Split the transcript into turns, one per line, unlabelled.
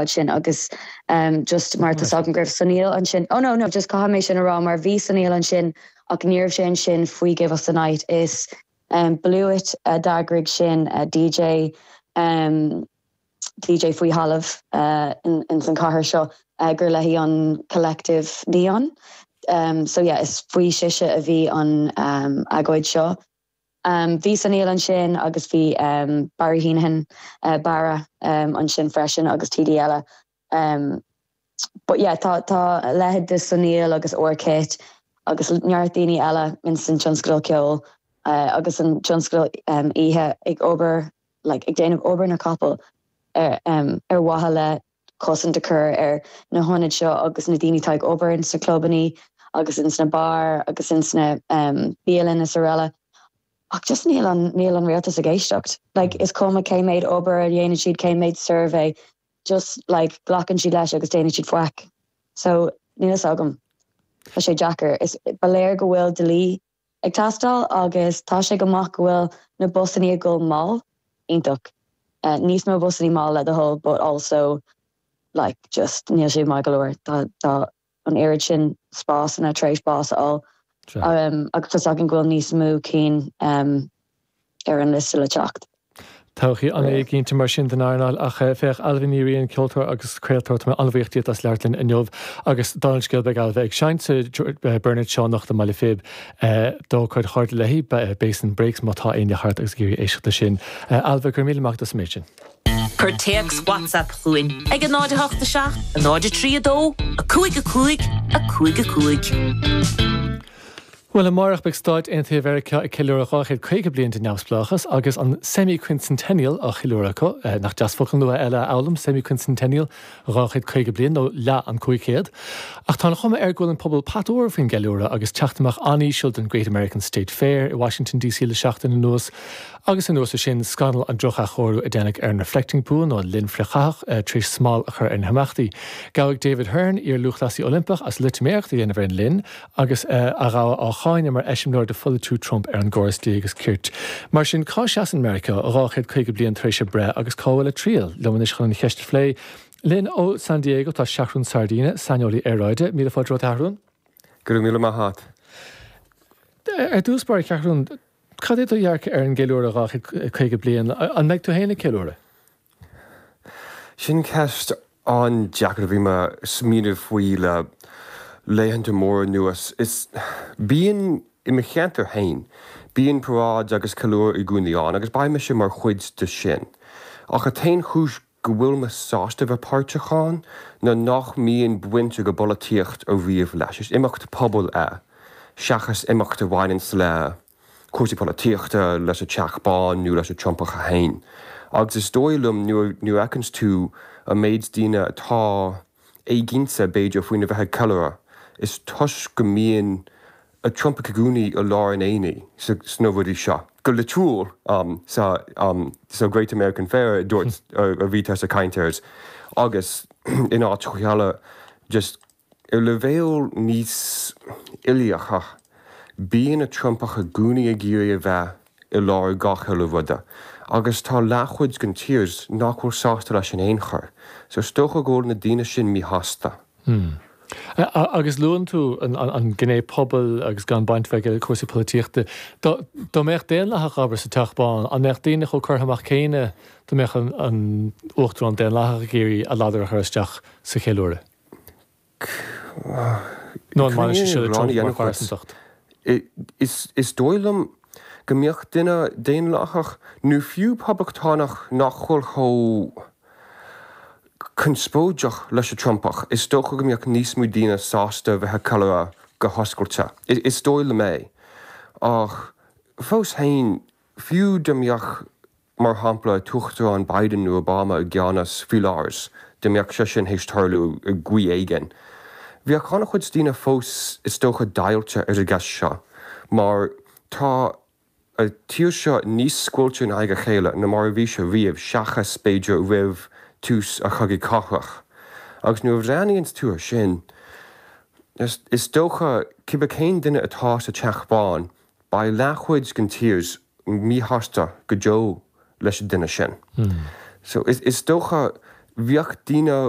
sin agus just mar tá 's agam go raibh Sunil ansin, oh no, no, just caithfidh mé sin a rá mar bhí Sunil ansin ach ní raibh sé ansin faoi Give Us The Night. Is Blueit a d'eagraigh sin, DJ, DJ faoi thalamh ins an chathair seo gur léi an Collective Neon. So yeah, is faoi sise a bhí an agóid seo. Bhí Sunil ansin agus bhí Barry Heneghan, Barra, ansin freisin agus TD eile. But yeah, tá tá a leithéid de Sunil agus R-Kit agus neart daoine eile ins an tionscadal ceoil agus an tionscadal oíche ag obair, like ag déanamh obair na gcapall ar ar mhaithe le cosaint a chur ar na hionaid seo agus na daoine atá ag obair ins na clubannaí agus ins na beáir agus ins na bialanna is araile. Ach just níl an, níl an rialtas ag éisteacht. Like is cuma cé méid obair a dhéanann siad, cé méid survey, just like glacann siad leis agus déanann siad faic. So níl fhios agam. Tá sé deacair. Is, ba léir go bhfuil dlí ag teastáil agus tá sé go maith go bhfuil na busannaí ag dul mall, iontach. Níos mó busannaí mall le do thoil but also like just níl sé maith go leor. Tá tá an oiread sin spásanna tar éis bás a fháil agus tá 's againn go bhfuil níos mó cinn ar an liosta le teacht.
Todhchaí an-éiginnte mar sin don earnáil ach féach, Ailbhe Ní Riain, ceoltóir agus craoltóir, tá mé an-bhuíoch díot as labhairt linn inniu agus dála an scéil beidh Ailbhe ag seinnt sa Bernard Shaw anocht i mBaile Phib d'ócáid chairde léi, Bass and Breaks má tá éinne thart agus ag iarraidh éisteacht leis sin. Ailbhe, go raibh míle maith agat as an méid sin.
Cuir téacs WhatsApp chugainn ag 0 8 7 0 3 2 5 5 5 5.
Bhuel, amárach beidh Stáit Aontaithe Mheiriceá ag ceiliúradh 250 bliain de neamhspleáchas agus an Semi-Quincentennial á cheiliúradh acu. Nach deas focal nua eile a fhoghlaim, Semi-Quincentennial, 250 bliain, nó leath an 500. Ach tá an chuma air go bhfuil an pobal pat fhuar faoin gceiliúradh agus teacht amach an-íseal don Great American State Fair i Washington DC le seachtain anuas. Agus anuas air sin, scannal an droch-athchóiriú a deineadh ar an Reflecting Pool, nó an Linn Frithchaitheach, tar éis smál a chur ar na himeachtaí. Gabhadh David Hearn, iar-lúthchleasaí Oilimpeach, as loitiméireacht a dhéanamh ar an linn, agus a ghabhadh á cháineadh mar eiseamláir de pholaitiú Trump ar an gcóras dlí agus cirt. Mar sin, cá seasann Meiriceá, 250 bliain tar éis a breith, agus cá bhfuil a triall? Liom anois chun an cheist a phlé linn ó San Diego tá Seathrún Sardina, saineolaí aeráide. Míle fáilte romhat, a Sheathrúin.
Go raibh míle maith agat.
Ar dtús báire, a Sheathrúin, cad é do dhearcadh ar an gceiliúradh 250 bliain? An mbeidh tú féin ag ceiliúradh?
Sin ceist an-deacair a bhí mé ag smaoineamh faoi le laethanta móra anuas. Is, bíonn, i mo cheantar féin, bíonn paráid agus ceiliúradh i gcónaí ann agus beidh mise mar chuid de sin. Ach an t-aon chúis go bhfuil mé sásta bheith páirteach ann ná nach mbíonn baint ag an bpolaitíocht ariamh leis. Is imeacht pobail é seachas imeacht a bhaineanns le cúrsaí polaitíochta, leis an Teach Bán nó leis an Trumpach féin. Agus is dóigh liom nuair a fheiceanns tú an méid daoine atá éiginnte, b'fhéidir, faoina bheith ag ceiliúradh, is toisc go mbíonn an Trumpach i gcónaí i lár an aonaigh sna rudaí seo, go litriúil, sa Great American Fair a dúirt, a bhí tusa ag caint air, agus in áiteacha eile, just. Ar leibhéal níos uilíocha, bíonn an Trumpach i gcónaí ag iarraidh a bheith i lár gach uile ruda, agus tá leathchuid den tír nach bhfuil sásta leis in aon chor, so is dócha go bhfuil na daoine sin míshásta.
Agus luann tú an gné pobail agus gan baint bheith aige le cúrsaí polaitíochta. Dá mbeadh Daonlathach abair sa Teach Bán, an mbeadh daoine chomh curtha amach céanna dá mbeadh an Uachtarán Daonlathach ag iarraidh a ladar a chur isteach sa cheiliúradh? Nó an mbaineann sé seo le Trump mar phearsantacht?
Is dóigh liom go mbeadh duine daonlathach, nó fiú poblachtánach nach bhfuil chomh conspóideach leis an Trumpach, is dócha go mbeadh níos mó daoine sásta bheith ag ceiliúradh go hoscailte. Is dóigh liom é. Ach fós féin, fiú dá mbeadh Mar shampla, tUachtarán Biden nó Obama i gceannas faoi láthair, dá mbeadh sé sin théis tarlú i gcaoi éigin, bheadh an-chuid daoine fós is dócha deighilte ar an gceist seo, mar tá an tír seo níos scoilte in aghaidh a chéile ná mar a bhí sé riamh, seachas, b'fhéidir, roimh tús an Chogaidh Cathrach. Agus nuair a bhreathnaíonns tú air sin, is dócha, cibé cén duine atá sa Teach Bán, beidh leathchuid den tír míshásta go deo leis an duine sin. So is dócha. Bhíodh daoine.